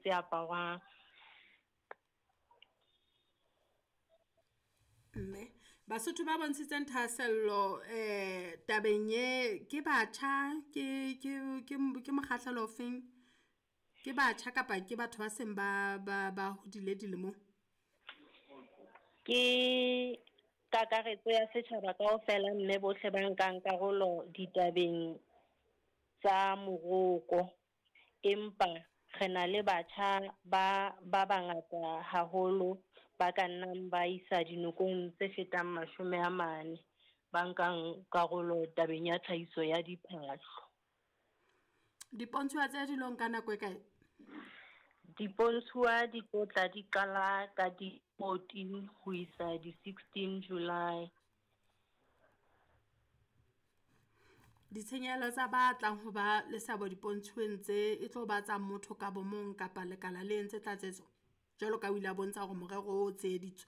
tse aparwang. Mme Basotho ba bontshitseng thahasello tabeng e ke batjha, ke mokgahlelo o feng? Ke batjha kapa ke batho ba seng ba hodile dilemong? Ke kakaretso ya setjhaba kaofela mme bohle ba nkang karolo ditabeng tsa moroko. Empa re na le batjha ba bangata haholo ba ka nnang ba isa dinokong tse fetang 40 ba nkang karolo tabeng ya tlhahiso ya diphahlo. Dipontshuwa tse di lo nka nako e kae? Dipontshuwa di tlo tla di qala ka di 14 ho isa di 16 July. Ditshenyehelo tsa ba tlang ho ba le seabo dipontshuweng tse e tlo ba tsa motho ka bo mong kapa lekala le entse tlatsetso? Jwalo ka o ile a bontsha hore morero o tsheheditswe.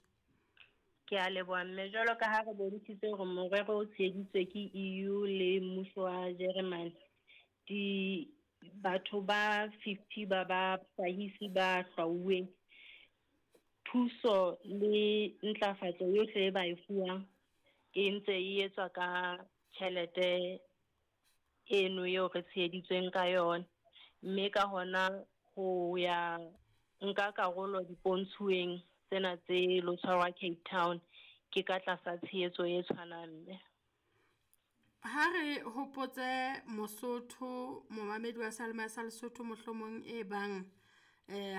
Ke a leboha mme, jwalo ka ha re bontshitse hore morero o tsheheditswe ke EU le mmuso wa Germany, di batho ba 50 ba bahlahisi ba hlwauweng, thuso le ntlafatso yohle e ba e fuwang e ntse e etswa ka tjhelete eno eo re tsheheditsweng ka yona. Mme ka hona ho ya nka karolo dipontshuweng tsena tse lo tshwarwa Cape Town ke ka tlasa tshehetso e tshwanang mme. Ha re hopotse Mosotho, momamedi wa Seyalemoya sa Lesotho mohlomong e bang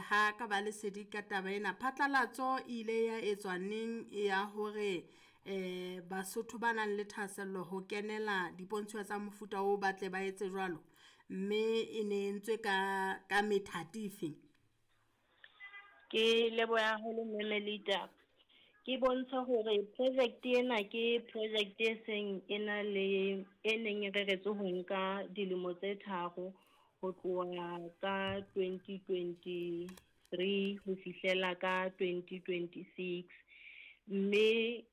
ha ka ba lesedi ka taba ena. Phatlalatso e ile ya etswa neng ya hore Basotho ba nang le thahasello ho kenela dipontsho tsa mofuta o batle ba etse jwalo, mme e ne entswe ka methati efe? Ke leboha haholo Mme Melita. Ke bontshe hore project ena ke project e seng e na le e neng e reretswe ho nka dilemo tse 3 ho tloha ka 2023 ho fihlela ka 2026. Mme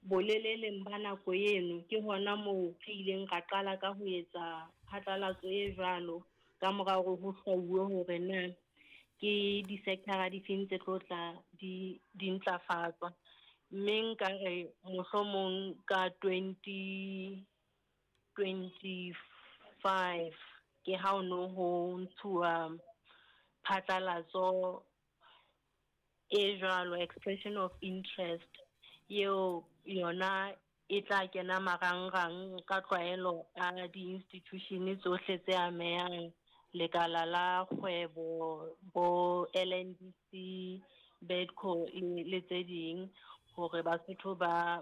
boleleleng ba nako eno ke hona moo re ileng ra qala ka ho etsa phatlalatso e jwalo ka mora hore ho hlwauwe hore na ke di-sector-a di feng tse tlo tla di ntlafatswa. Mme nka re mohlomong ka 2025 ke ha o no ho ntshuwa phatlalatso e jwalo, expression of interest, eo yona e tla kena marangrang ka tlwaelo a di-institution tsohle tse amehang, lekala la kgwebo, bo LNDC, Bedco le tse ding, hore Basotho ba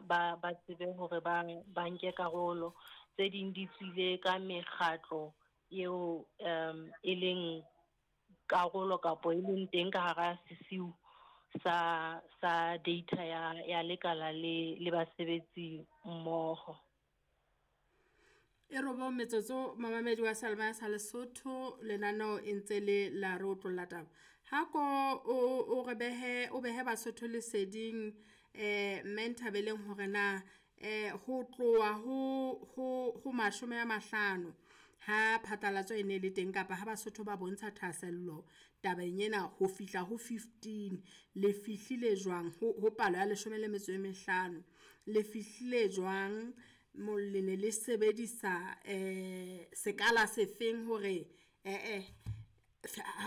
tsebe hore ba nke karolo. Tse ding di tswile ka mekgatlo eo e leng karolo kapa e leng teng ka hara sesiu sa data ya lekala le basebetsi mmoho. E robong metsotso momamedi wa Seyalemoya sa Lesotho, lenaneo e ntse le la re otlolla taba. Ha ko o re behe, o behe Basotho leseding mme Nthabeleng hore na ho tloha ho 50 ha phatlalatso e ne le teng kapa ha Basotho ba bontsha thahasello tabeng ena ho fihla ho 15, le fihlile jwang ho palo ya 15, le fihlile jwang? Le ne le sebedisa sekala sefeng hore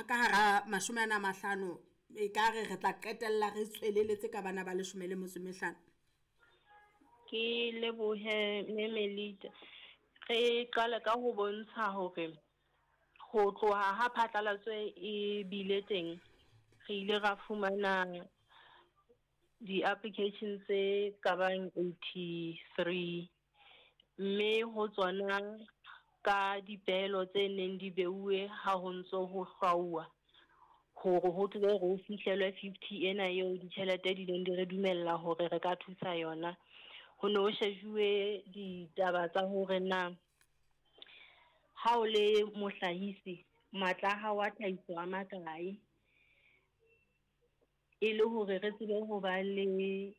ka hara 50 e ka re re tla qetella re tsweleletse ka bana ba 15? Ke lebohe Mme Melita. Re qale ka ho bontsha hore ho tloha ha phatlalatso e bile teng, re ile ra fumana di-application tse ka bang 83, mme ho tsona ka dipehelo tse neng di beuwe ha ho ntso ho hlwauwa hore ho tle ho fihlelwe 50 ena eo ditjhelete di neng di re dumella hore re ka thusa yona. Ho no shejuwe ditaba tsa hore na ha o le mohlahisi matla a hao a tlhahiso a makae, e le hore re tsebe ho ba le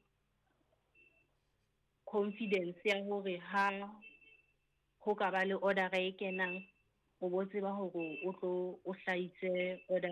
confidence ya hore ha ho ka ba le order e kenang, o bo tseba hore o tlo o hlahise order.